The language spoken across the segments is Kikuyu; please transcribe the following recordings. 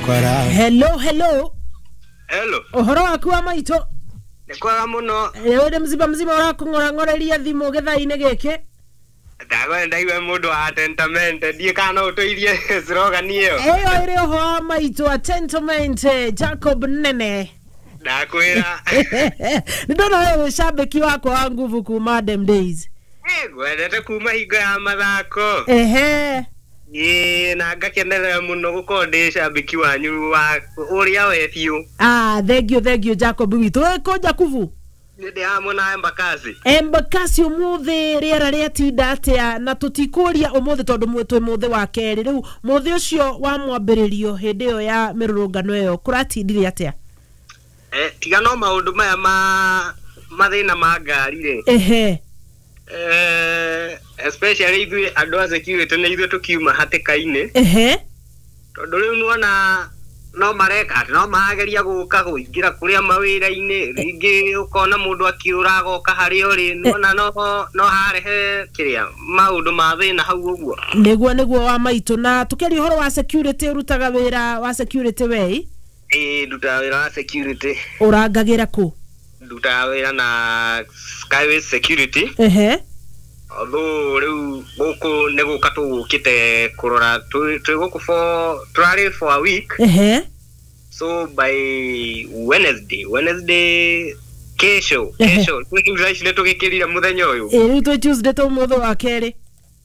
Hello, hello. Hello. Ũhoro waku wa maitũ? Nĩ kwega mũno. Rĩu nĩ mzima mzima ũrakũng'orang'oreria thimũ gĩthaa-inĩ gĩkĩ? Ndagwenda ndaigua mũndũ wa tentamente ndiĩ kana no ũtũirie slogan ĩyo. Ĩyo ĩrĩ ũho wa maitũ atentament Jacob Nene. Ndakwĩra. Nĩ ndona wewe wĩ cambĩki wakwa wa nguvu kuma dem days. Ngwendete kuma hingo ya mathako. Ehe. Ĩĩ na ngakenerera mũno gũkorwo ndĩ cambĩki wanyu wa ũrĩa we biũ. Ah, thank you, thank you Jacob witũ. Wĩ kũ Jakubu? Nĩ ndĩ hamwe na Embakasi. Embakasi ũmũthĩ rĩera rĩatinda atĩa? Na tũtikũria ũmũthĩ tondũ twĩ mũthĩ wa kerĩ. Rĩu mũthĩ ũcio wa mwambĩrĩrio hĩndĩ ĩyo ya mĩrũrũngano ĩyo kũratindire atĩa? Tiga no maũndũ maya ma mathĩna ma ngari rĩ. Ehe. Especially ithuĩ andũ a security nĩ ithuĩ tũkiuma hatĩka-inĩ. Ehe. Tondũ rĩu nĩwona no mareka atĩ no marageria gũka kũingĩra kũrĩa mawĩra-inĩ, rĩngĩ ũkona mũndũ akĩũra agoka harĩa ũrĩ, nĩwona no harehe kĩrĩa maũndũ ma thĩna hau ũguo. Nĩguo nĩguo wa maitũ. Na tũkĩaria ũhoro wa security, ũrutaga wĩra wa security wei? Ĩĩ, ndutaga wĩra wa security. Ũrangagĩra kũ? Ndutaga wĩra na Skyway Security. Ehe. Although rĩu gũkũ nĩ gũka tũgũkĩte kũrora, twĩ gũkũ for tũrarĩ for a week. Ehe. So by Wednesday kesho kesho rĩu thaa ici nĩ tũgĩkĩrire mũthenya ũyũ. Ĩĩ, rĩu twĩ Tuesday tũ mũthĩ wa kerĩ.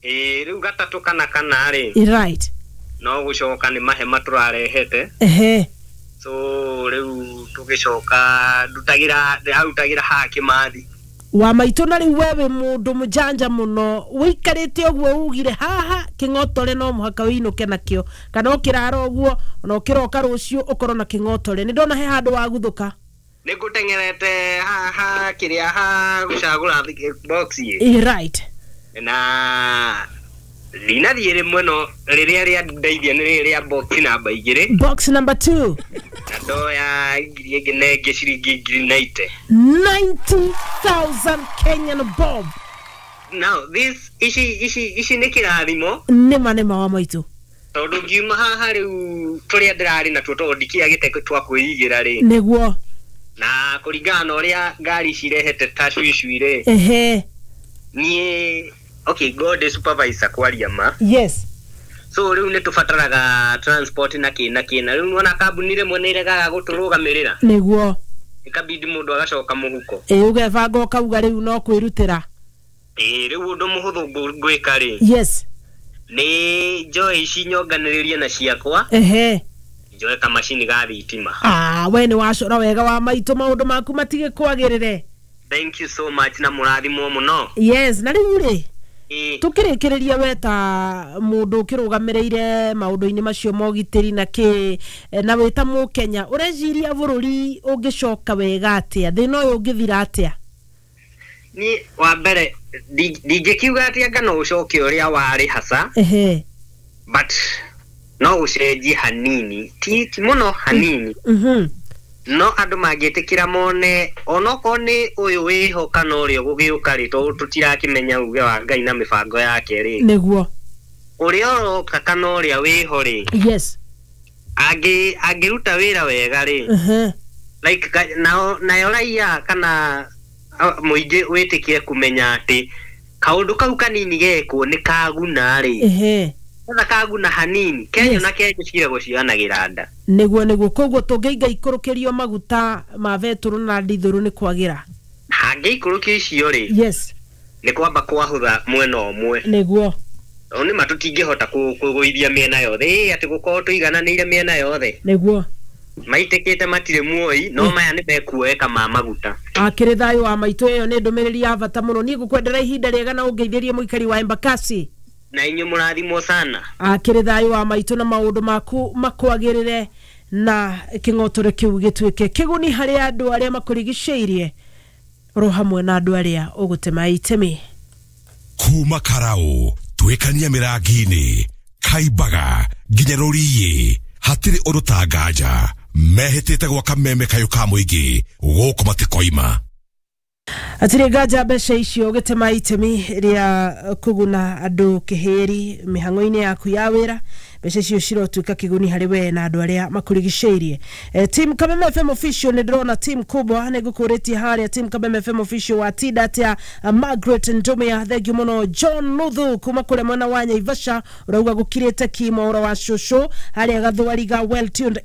Ĩĩ, rĩu gatatũ kana kana rĩ. Right. No gũcoka nĩ mahema tũrarehete. Ehe. So rĩu tũgĩcoka ndutagĩra ndĩrarutagĩra haha Kĩmathi. Wa maitũ. Na rĩu we wĩ mũndũ mũjanja mũno, wĩikarĩte ũguo ugire haha kĩng'otore no mũhaka wĩinũke nakĩo, kana ũkĩrara ũguo ona ũkĩroka rũciũ ũkorwo na kĩng'otore. Nĩ ndona he handũ waguthũka. Nĩ ngũteng'erete haha kĩrĩa ha gũcagũra box ĩ. Ĩ, right. Na ndinathiĩ rĩmwe no rĩrĩa rĩandeithia nĩ rĩrĩ rĩa box namba 2. Box number 2. Na ndoya ngiri ĩngĩ na ĩngĩ ciringi ngiri 90. 90,000 Kenyan bob. Now this ici nĩ kĩrathimo. Nĩma nĩma wa maitũ. Tondũ ngiuma haha rĩu tũrĩa ndĩrarĩ natuo tondũ ndikĩagĩte twa kwĩigĩra rĩ. Nĩguo. Na kũringana na ũrĩa ngari cirehete tacwicwi rĩ. Ehe. Niĩ okay, God is supervisor kwaria ma. Yes. So rĩu nĩ tũbataraga transport na kĩ na kĩ na rĩu nĩwona kambuni rĩmwe nĩ iregaga gũtũrũgamĩrĩra. Nĩguo. Ĩkabidi mũndũ agacoka mũhuko. Ĩ, ũgebanga ũkauga rĩu no kwĩrutĩra. Ĩ, rĩu ũndũ mũhũthũ ngwĩka rĩ. Yes. Nĩ njoe ici nyonganĩrĩrie na ciakwa. Ehe. Njoe kamacini ga thitima. Ah, we nĩ wacora wega wa maitũ, maũndũ maku matigĩkwagĩrĩre. Thank you so much na mũrathimwo mũno. Yes, na rĩu rĩ tũkĩrĩkĩrĩria we ta mũndũ ũkĩrũgamĩrĩire maũndũ-inĩ macio ma ũgitĩri na kĩ, na wĩ ta mũkenya, ũreciria bũrũri ũngĩcoka wega atĩa, thĩna ũyũ ũngĩthira atĩa? Niĩ wa mbere ndingĩkiuga atĩ anga no ũcoke ũrĩa warĩ hasa. Ehe. But no ũcenjie hanini, ti mũno hanini. No andũ mangĩtĩkĩra mone onokorwo nĩ ũyũ wĩho kana ũrĩa ũgũgĩũka rĩ, tondũ tũtirakĩmenya uge wa Ngai na mĩbango yake rĩ. Nĩguo. Ũrĩa ũroka kana ũrĩa wĩho rĩ. Yes. Angĩruta wĩra wega rĩ. Like nayo raia kana mũingĩ wĩtĩkĩre kũmenya atĩ kaũndũ kau kanini gekwo nĩ kaguna rĩ. Ehe. Kwanza kaguna hanini Kenya na Kenya ciragwo cianagĩra nda. Nĩguo nĩguo. Koguo tũngĩinga ikũrũkĩrio maguta ma betũrũ na ndithũrũ nĩ kwagĩra. Hangĩikũrũkio icio rĩ. Yes. Nĩ kwamba kwahũtha mwena ũmwe. Nĩguo. Tondũ nĩ ma tũtingĩhota kũgũithia mĩena yothe. Ĩ, atĩ gũkorwo tũigananĩire mĩena yothe. Nĩguo. Maitĩkĩte matirĩ muoi, no maya nĩ mekuoeka ma maguta. Akĩrĩ thayũ wa maitũ, ĩyo nĩ ndũmĩrĩri ya bata mũno. Niĩ ngũkwendera ihinda rĩega na ũngeithĩrie mũikari wa Embakasi. Na inyuĩ mũrathimwo sana. Akĩrĩ thayũ wa maitũ na maũndũ maku makwagĩrĩre na kĩng'otore kĩu gĩtuĩke kĩguni harĩ andũ arĩa makũrigicĩirie oro hamwe na andũ arĩa ũgũtema itemi. Kuma Karau twĩkania mĩrangi-inĩ Kaimbaga nginya Rũriĩ hatirĩ ũndũ ta nganja mehĩtĩte gwaka meme kayũ ka mũingĩ gũkũ matikoima. Atirĩ nganja mbeca icio ũgĩtema itemi rĩa kũguna andũ kĩhĩri mĩhang'o-inĩ yaku ya wĩra Mbeca icio cirotuĩka kĩguni harĩ we na andũ arĩa makũrigicĩirie. Team Kameme FM official, nĩ ndĩrona team kubwa, nĩ ngũkũrĩtie harĩa team Kameme FM official wa tinda atĩa. Margaret Ndumia, thank you mũno. John Nuthu kuma kũrĩa mwena wa Nyaivasha, ũrauga gũkirĩte kimo ũro wa cũcũ harĩa Gathwariga, well tuned.